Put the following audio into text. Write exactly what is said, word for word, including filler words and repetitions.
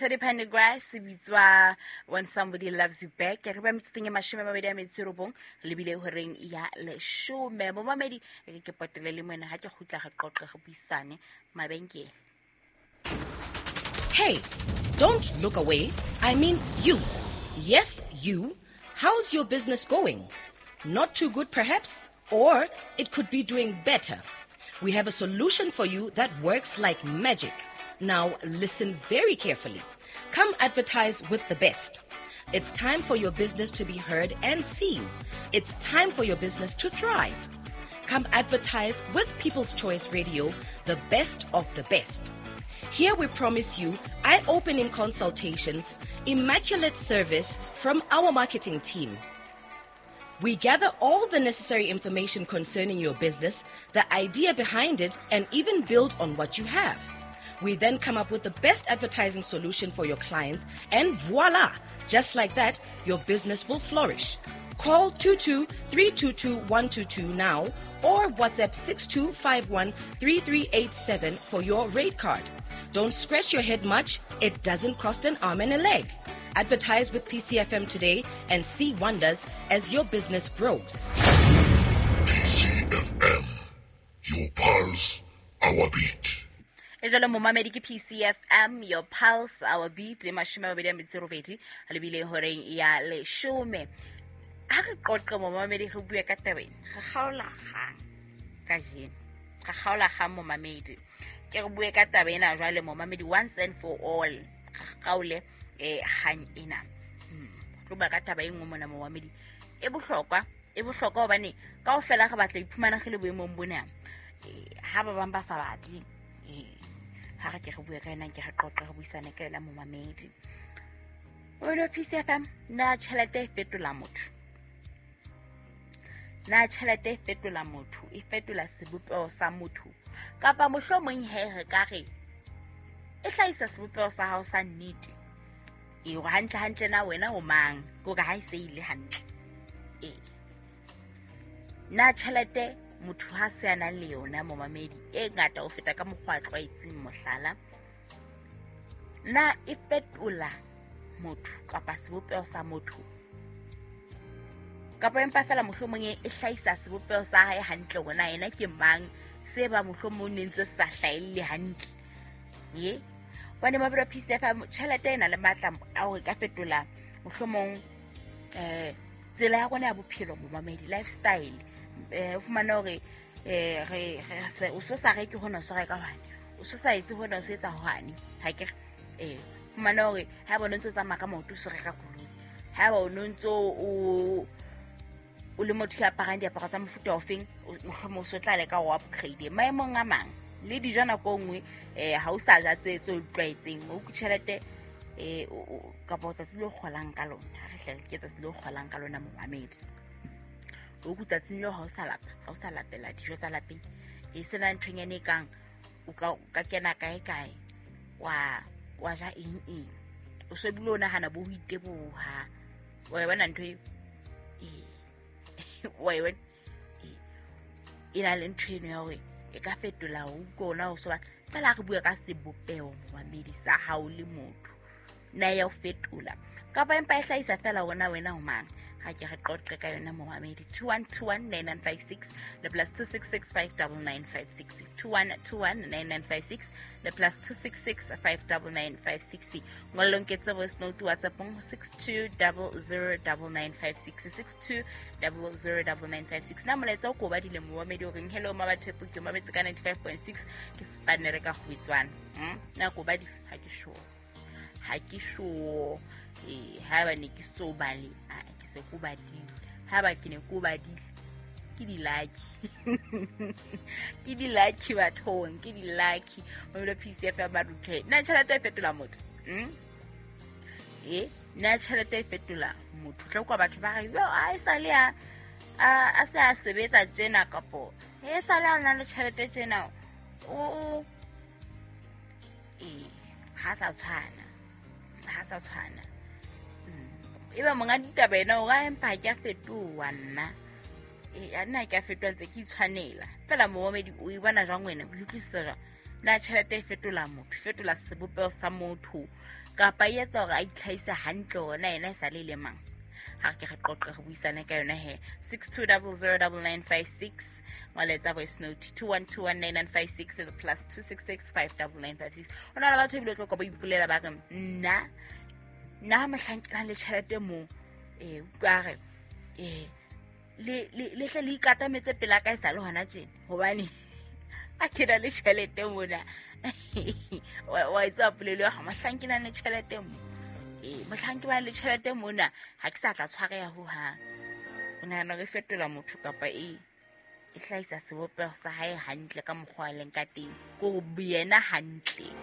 Teddy Pendergrass, bitswa When Somebody Loves You Back. Re ba metsotsong e mashome a mabedi a metso e robong, re lebile horeng ya leshome. Momamedi, e ke potele le moena ha ke kgutla re qoqe re buisane mabenkele. Hey, don't look away. I mean you. Yes, you. How's your business going? Not too good, perhaps? Or it could be doing better. We have a solution for you that works like magic. Now, listen very carefully. Come advertise with the best. It's time for your business to be heard and seen. It's time for your business to thrive. Come advertise with People's Choice Radio, the best of the best. Here we promise you eye-opening consultations, immaculate service from our marketing team. We gather all the necessary information concerning your business, the idea behind it, and even build on what you have. We then come up with the best advertising solution for your clients, and voila! Just like that, your business will flourish. Call two two three two two one two two now or WhatsApp six two five one three three eight seven for your rate card. Don't scratch your head much. It doesn't cost an arm and a leg. Advertise with P C F M today and see wonders as your business grows. P C F M, your pulse, our beat. E jalo momamedi ke P C F M, your pulse, our beat, e mashome a mabedi a metso e robedi, a lebile horeng ya leshome. Ha re qoqe momamedi re bue ka taba ena, re kgaola kgang kajeno. Re kgaola kgang momamedi. Ke re bue ka taba ena jwale momamedi once and for all. Re kgaole eh kgang ena. Hmm. Tlo bua ka taba e nngwe mona momamedi. E bohlokwa, e bohlokwa hobane kaofela re batla ho iphumana re le boemong bona. Eh ha ba bang ba sa batle, eh ha re ke re bue ka yona, ke re qoqe re buisane ka yona momamedi. Wena P C F M, na tjhelete e fetola motho? Na tjhelete e fetola motho, e fetola sebopeho sa motho? Kapa mohlomong he re ka re e hlahisa sebopeho sa hao sa nnete? E hore hantle hantle na wena o mang? Ke hore ha e se ile hantle. E na tjhelete motho ha se a nang le yona momamedi e ngata ho feta ka mokgwa a tlwaetseng mohlala, na e fetola motho kapa sebopeho sa motho? Kapa empa fela mohlomong e hlahisa sebopeho sa hae hantle hore na yena ke mang, se ba mohlomong ne ntse sa hlahelle hantle. Ye bane mabelo P C F M, tjhelete e na le matla a hore e ka fetola mohlomong eh tsela ya rona ya bophelo momamedi, lifestyle. Eh o fumana hore eh re re o so sa reke hona o so reka hwane, o so sa etse hona o so etsa hwane. Ha ke re eh fumana hore ha bona ntse tsamaya ka maoto o so reka koloi, ha ba o ntso o o le motho ya aparang diaparo tsa mofuta ofeng, mohlomong o so tla leka ho upgrade maemong a mang le dijo nako e nngwe. Eh ha o sa ja tse tse o tlwaetseng, o ku tjhelete eh kapa tsatsi le kgolang ka lona. Ha re hle ke tsatsi le kgolang ka lona momamedi, o ku tsatsing leo ha o sa lapa, ha o sa lapela dijo tsa lapeng, e sena nthonyane e kang o ka ka kena kae kae wa wa ja eng eng, o so bile o nahana bo ho iteboha. Wa e bona ntho eo? Eh wa e bona? E na le ntho eno ya hore e ka fetola ho kona ho so ba fela re bua ka sebopeho momamedi sa hao le motho, na ya o fetola kapa empa e hlahisa fela wona wena o mang? Ha ke re qoqe ka yona momamedi. Two one two one nine nine five six le plus two six six five double nine five six. Two one two one nine nine five six le plus two six six five double nine five six. Ngollong ke tse voice note WhatsApp six two double zero double nine five six, six two double zero double nine five six. Na molaetsa o ko ba dile momamedi o reng hello mabathepo ke mametse ka ninety five point six ke spanere ka kgwitswana. Hmm? Na ko ba di ha ke sure. Ha ke sure. Eh ha ba ne ke so bale, a ke se ko badile. Ha ba ke ne ko badile ke di lucky. Ke di lucky bathong, ke di lucky. Mamelo P C F M ba ruthe. Na tjhelete e fetola motho? Hmm? Eh, na tjhelete e fetola motho? Tla kwa batho ba re, "Yo, a e sa le a a se a sebetsa tjena kapo e sa le a na le tjhelete tjena." O eh ha sa tshwana. Ha sa tshwana. E ba monga ditaba ena o ra empa ke a fetoha nna. Eh nna ke a fetoha ntse ke itshwanela. Fela momamedi o e bona jwang wena? O utlwisisa jwang? Na tjhelete e fetola motho, e fetola sebopeho sa motho kapa e etsa hore a itlhahise hantle hore na yena e sa le le mang? Ha re ke re qoqe re buisane ka yona he. six two zero zero nine nine five six ngwaletsa voice note two one two one nine nine five six le plus two six six five nine nine five six. Ho na le batho ebile o tlo kwa ba ipolela ba re nna nna ha mohlang ke nang le tjhelete moo, eh utlwa re eh le le hle le ikatametse pela ka e sa le hona tjena hobane a ke na le tjhelete mona. Wa etsa polelo ya ha mohlang ke nang le tjhelete mo, eh mohlang ke ba le tjhelete mona ha ke sa tla tshwareha ho hang. O nahana re fetola motho kapa e e hlahisa sebopeho sa hae hantle ka mokgwa a leng ka teng, ko yena hantle.